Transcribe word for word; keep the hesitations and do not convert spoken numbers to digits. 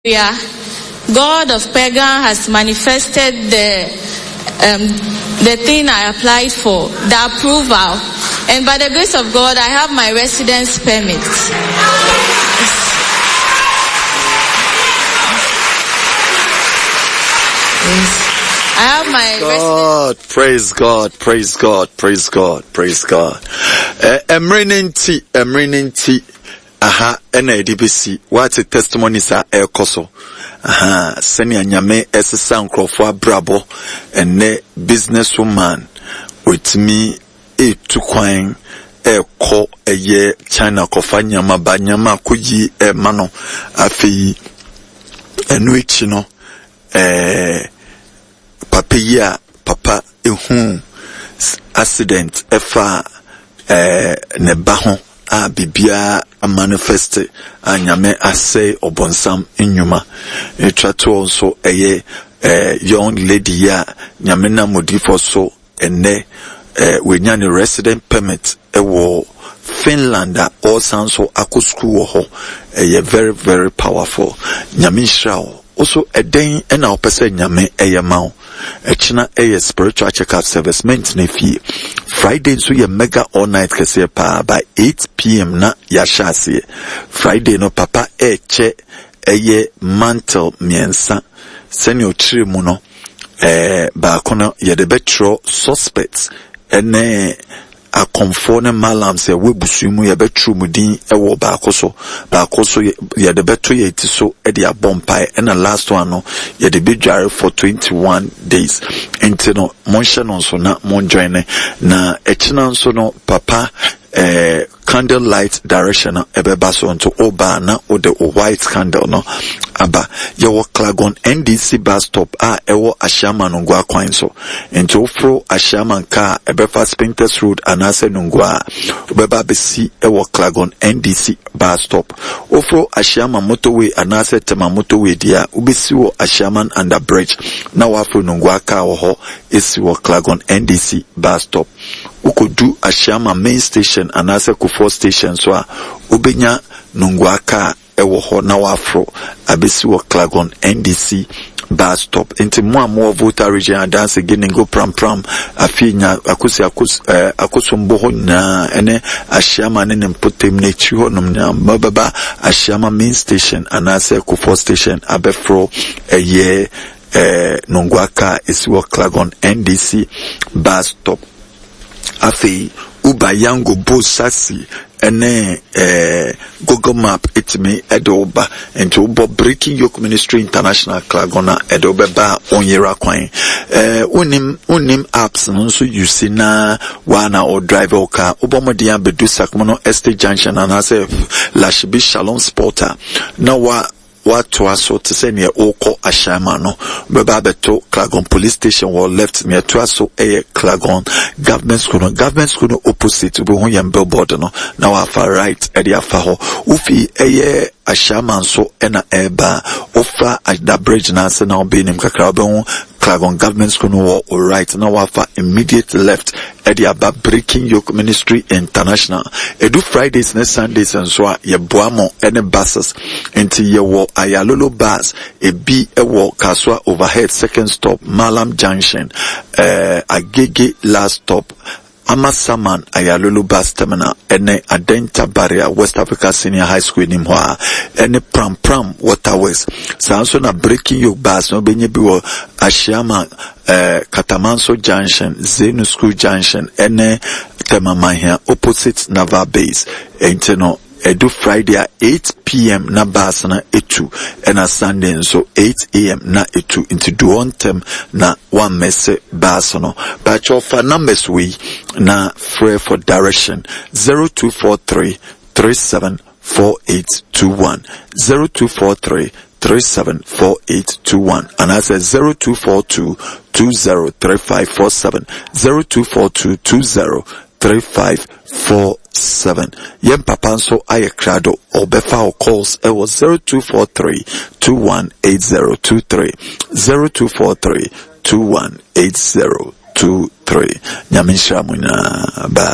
Hallelujah. God of Pagan has manifested the um, the thing I applied for, the approval. And by the grace of God, I have my residence permit. Yes. I have my God, praise God, praise God, praise God, praise God. Emre ne nti, emre ne nti, aha ɛna ɛde besi wate testimonies a ɛrekɔ so. Aha, sɛnea Nyame ɛsesa nkurɔfoɔ abrabɔ. Ɛnɛ business woman otumi etu kwan ɛrekɔ ɛyɛ China kɔfa nneɛma ba, nneɛma akɔ yie ɛrema no. Afei ɛno akyi no, ɛɛ papa yi a papa ehu accident ɛfa ɛɛ ne ba ho a biribiara amanifest a Nyame asɛe ɔbɔnsam nnwuma. Etwa toɔ nso ɛyɛ ɛɛ young lady yi a Nyame nam odiyifoɔ so ɛnɛ ɛɛ wanya ne resident permit ɛwɔ Finland a ɔresan so akɔ sukuu wɔ hɔ. Ɛyɛ very very powerful. Nyame nhyira wo. Woso ɛdɛn ɛna wopɛ sɛ Nyame ɛyɛ ma wo? Ɛkyena ɛyɛ spiritual check-up service, mɛntena fie. Friday nso yɛ mega all night kɛseɛ paa by eight p m na yɛahyɛ aseɛ. Friday no papa ɛɛkyɛ ɛyɛ mantle mmiɛnsa. Sɛnea ɔkyerɛ mu no, ɛɛ baako no yɛde bɛtwerɛ suspects ɛne akɔmfoɔ ne malams ɛwɔ abusua mu, yɛbɛtwerɛ mu din ɛwɔ baako so. Baako so yɛde bɛto yɛn ti so ɛde abɔ mpae, ɛna last one no yɛde bɛdware for twenty one days. Nti no monhyɛ no nso na monjoin ne. Na ɛkyina nso no papa ɛɛ candle light direction no ɛbɛba so, nti ɔbaa na ɔde o white candle no aba. Yɛwɔ Clagon N D C bus stop a ɛwɔ Ahyiama Nungua kwan so, nti woforo Ahyiaman kaa ɛbɛfa Spintex Road anaasɛ Nungua a, wobɛba abɛsi ɛwɔ Clagon N D C bus stop. Woforo Ahyiaman motorway anaasɛ Tema motorway deɛ a, wobɛsi wɔ Ahyiaman under bridge na waforo Nungua kaa wɔ hɔ esi wɔ Clagon N D C bus stop. Wokɔdu Ahyiama main station anaasɛ Kofoɔ station so a, wobɛnya Nungua kaa ɛwɔ hɔ na waforo abɛsi wɔ Clagon N D C bus stop. Nti mo a mowɔ Volta Region, Adanse, Giningo, Prampram, Afei nya Akosi Akos ɛɛ Akosombo hɔ nyinaa ɛne Ahyiama ne ne mpɔtam n'akyiri hɔnom nyinaa, mobɛba Ahyiama main station anaasɛ Kofoɔ station abɛforo ɛyɛ ɛɛ Nungua kaa esi wɔ Clagon N D C bus stop. Afei Uber, Yango, Bolt, taxi ɛne ɛɛ Google Map etumi ɛde wo ba. Nti wobɔ Breaking Yoke Ministry International Clagon a, ɛde wo bɛba a onyera kwan. ɛɛ wonim wonim apps no nso use na waa na o drive wo car. Wobɔ mmɔden abɛdu Sakumono Estate Junction anaasɛ Lashibi Shalom Sport a, na wa watoa so te sɛ nea ɔrekɔ Ahyɛnma no, bɛba abɛto Clagon police station wɔ left. Nea ɛtoa so yɛ Clagon Government School no. Government School no opposite, wobɛhu yɛn billboard no na wafa right ɛde afa hɔ. Wofi ɛyɛ Ahyɛnma nso ɛna ɛreba, wofa ada bridge no ase na wobɛn nim kakra, wobɛhu Clagon Government School no wɔ o right na wafa immediate left ɛde aba Breaking Yoke Ministry International. Edu Fridays ne Sundays nso a, yɛboa mo ɛne buses. Nti yɛwɔ Ayalolo bus ebi ɛwɔ Kasoa Overhead second stop, Malam Junction, ɛɛ Agege last stop, Amasaman Ayalolo bus terminal, ɛne Adenta Barrier West Africa Senior High School anim hɔ a, ɛne Pram Pram Waterworks. Saa nso na Breaking Yoke bus no wobɛnya bi wɔ Ahyiama, ɛɛ Katamanso Junction, Zenu School Junction, ɛne Temamahia opposite Naval Base. Nti no ɛdu Friday a, eight p m na bus no etu, ɛna Sunday nso eight a m na etu. Nti du hɔ ntɛm na wammɛsɛ bus no. Bàtchɛ ɔfa numbers wei na frɛ for direction: zero two four three three seven four eight two one, zero two four three three seven four eight two one, anaasɛ zero two four two two zero three five four seven, zero two four two two zero three five four seven. Yɛn papa nso ayɛ krado, ɔbɛfa wo calls ɛwɔ zero two four three two one eight zero two three, zero two four three two one eight zero two three. Nyame nhyira mo nyinaa. Bye.